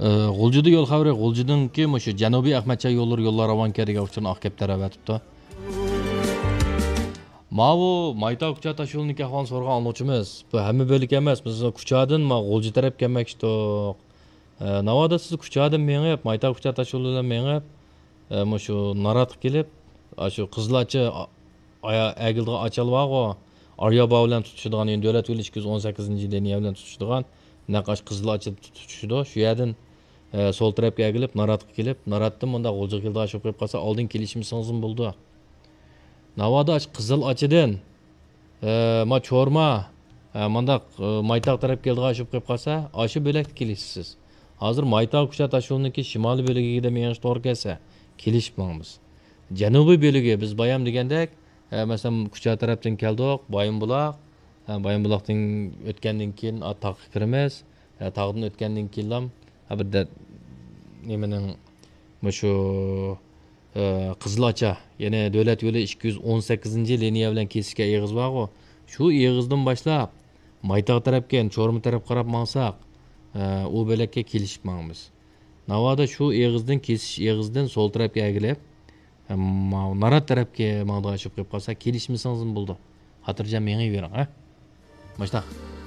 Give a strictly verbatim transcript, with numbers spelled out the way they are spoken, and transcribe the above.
ئى، غۇلجىدا يول خەۋىرى، غۇلجىدىنكى مۇشۇ جەنۇبىي ئەخمەتچاي يوللىرى يوللار راۋانكە دېگەن ئۇچۇرنى ئاق كەپتەر ئەۋەتىپتۇ. ماۋۇ مايتاغ كۇچا تاشيولىنىڭكى ئەھۋالىنى سورىغان ئاڭلىغۇچىمىز، بۇ ھەممە بۆلەك ئەمەس، بىز كۇچادىن ما غۇلجا تەرەپكە كەلمەكچىدۇق. ئە، ناۋادا سىز كۇچادىن مېڭىپ، مايتاغ كۇچا تاشيولى بىلەن مېڭىپ، ئە، مۇشۇ ناراتقا كېلىپ، ئاشۇ قىزىل ئاچا ئا-، ئايا-، ئەگىلىدىغان ئاچال بارغۇ، ئاريابا بىلەن تۇتىشىدىغان، يەنى دۆلەت يولى ئىككى يۈز ئون سەككىزىنچى لىنىيە بىلەن تۇتىشىدىغان، نەق ئاشۇ قىزىل ئاچا تۇتىشىدۇ. شۇ يەردىن، ئە، سول تەرەپكە ئەگىلىپ، ناراتقا كېلىپ، ناراتتىن مۇنداق غۇلجىغا كېلىدىغان ئىش بولۇپ قالسا، ئالدىن كېلىشمىسىڭىزمۇ بولىدۇ. ناۋادا ئاشۇ قىزىل ئاچىدىن، ئە، ما چورما، ئە، مانداق، ئە، مايتاغ تەرەپ كېلىدىغان ئىش بولۇپ قېلىپ قالسا، ئاشۇ بۆلەكتە كېلىشىسىز. ھازىر مايتاغ كۇچا تاشيولىنىڭكى شىمالىي بۆلىكىگە دەپ مېڭىش توغرا كەلسە، كېلىشىپ ماڭىمىز. جەنۇبىي بۆلىكى بىز بايام دېگەندەك، ئە، مەسىلەن، كۇچا تەرەپتىن كەلدۇق، بايىنبۇلاق، ئە، بايىنبۇلاقتىن ئۆتكەندىن كېيىن، ئا، تاغقا كىرىمىز. ئە، تاغدىن ئۆتكەندىن كېيىنلا، ھە، بىر دە-، نېمىنىڭ، مۇشۇ، ئە، قىزىل ئاچا، يەنى دۆلەت يولى ئىككى يۈز ئون سەككىزىنچى لىنىيە بىلەن كېسىشكەن ئېغىز بارغۇ، شۇ ئېغىزدىن باشلاپ، مايتاغ تەرەپكە، يەنى چورما تەرەپ قاراپ ماڭساق، ئە، ئۇ بۆلەككە كېلىشىپ ماڭىمىز. ناۋادا شۇ ئېغىزدىن، كېسىش ئېغىزدىن سول تەرەپكە ئەگىلىپ، ئە، ماۋۇ نارات تەرەپكە ماڭىدىغان ئىش بولۇپ قېلىپ قالسا، كېلىشمىسىڭىزمۇ بولىدۇ. خاتىرجەم مېڭىۋېرىڭ، ھە؟ مۇشتاق.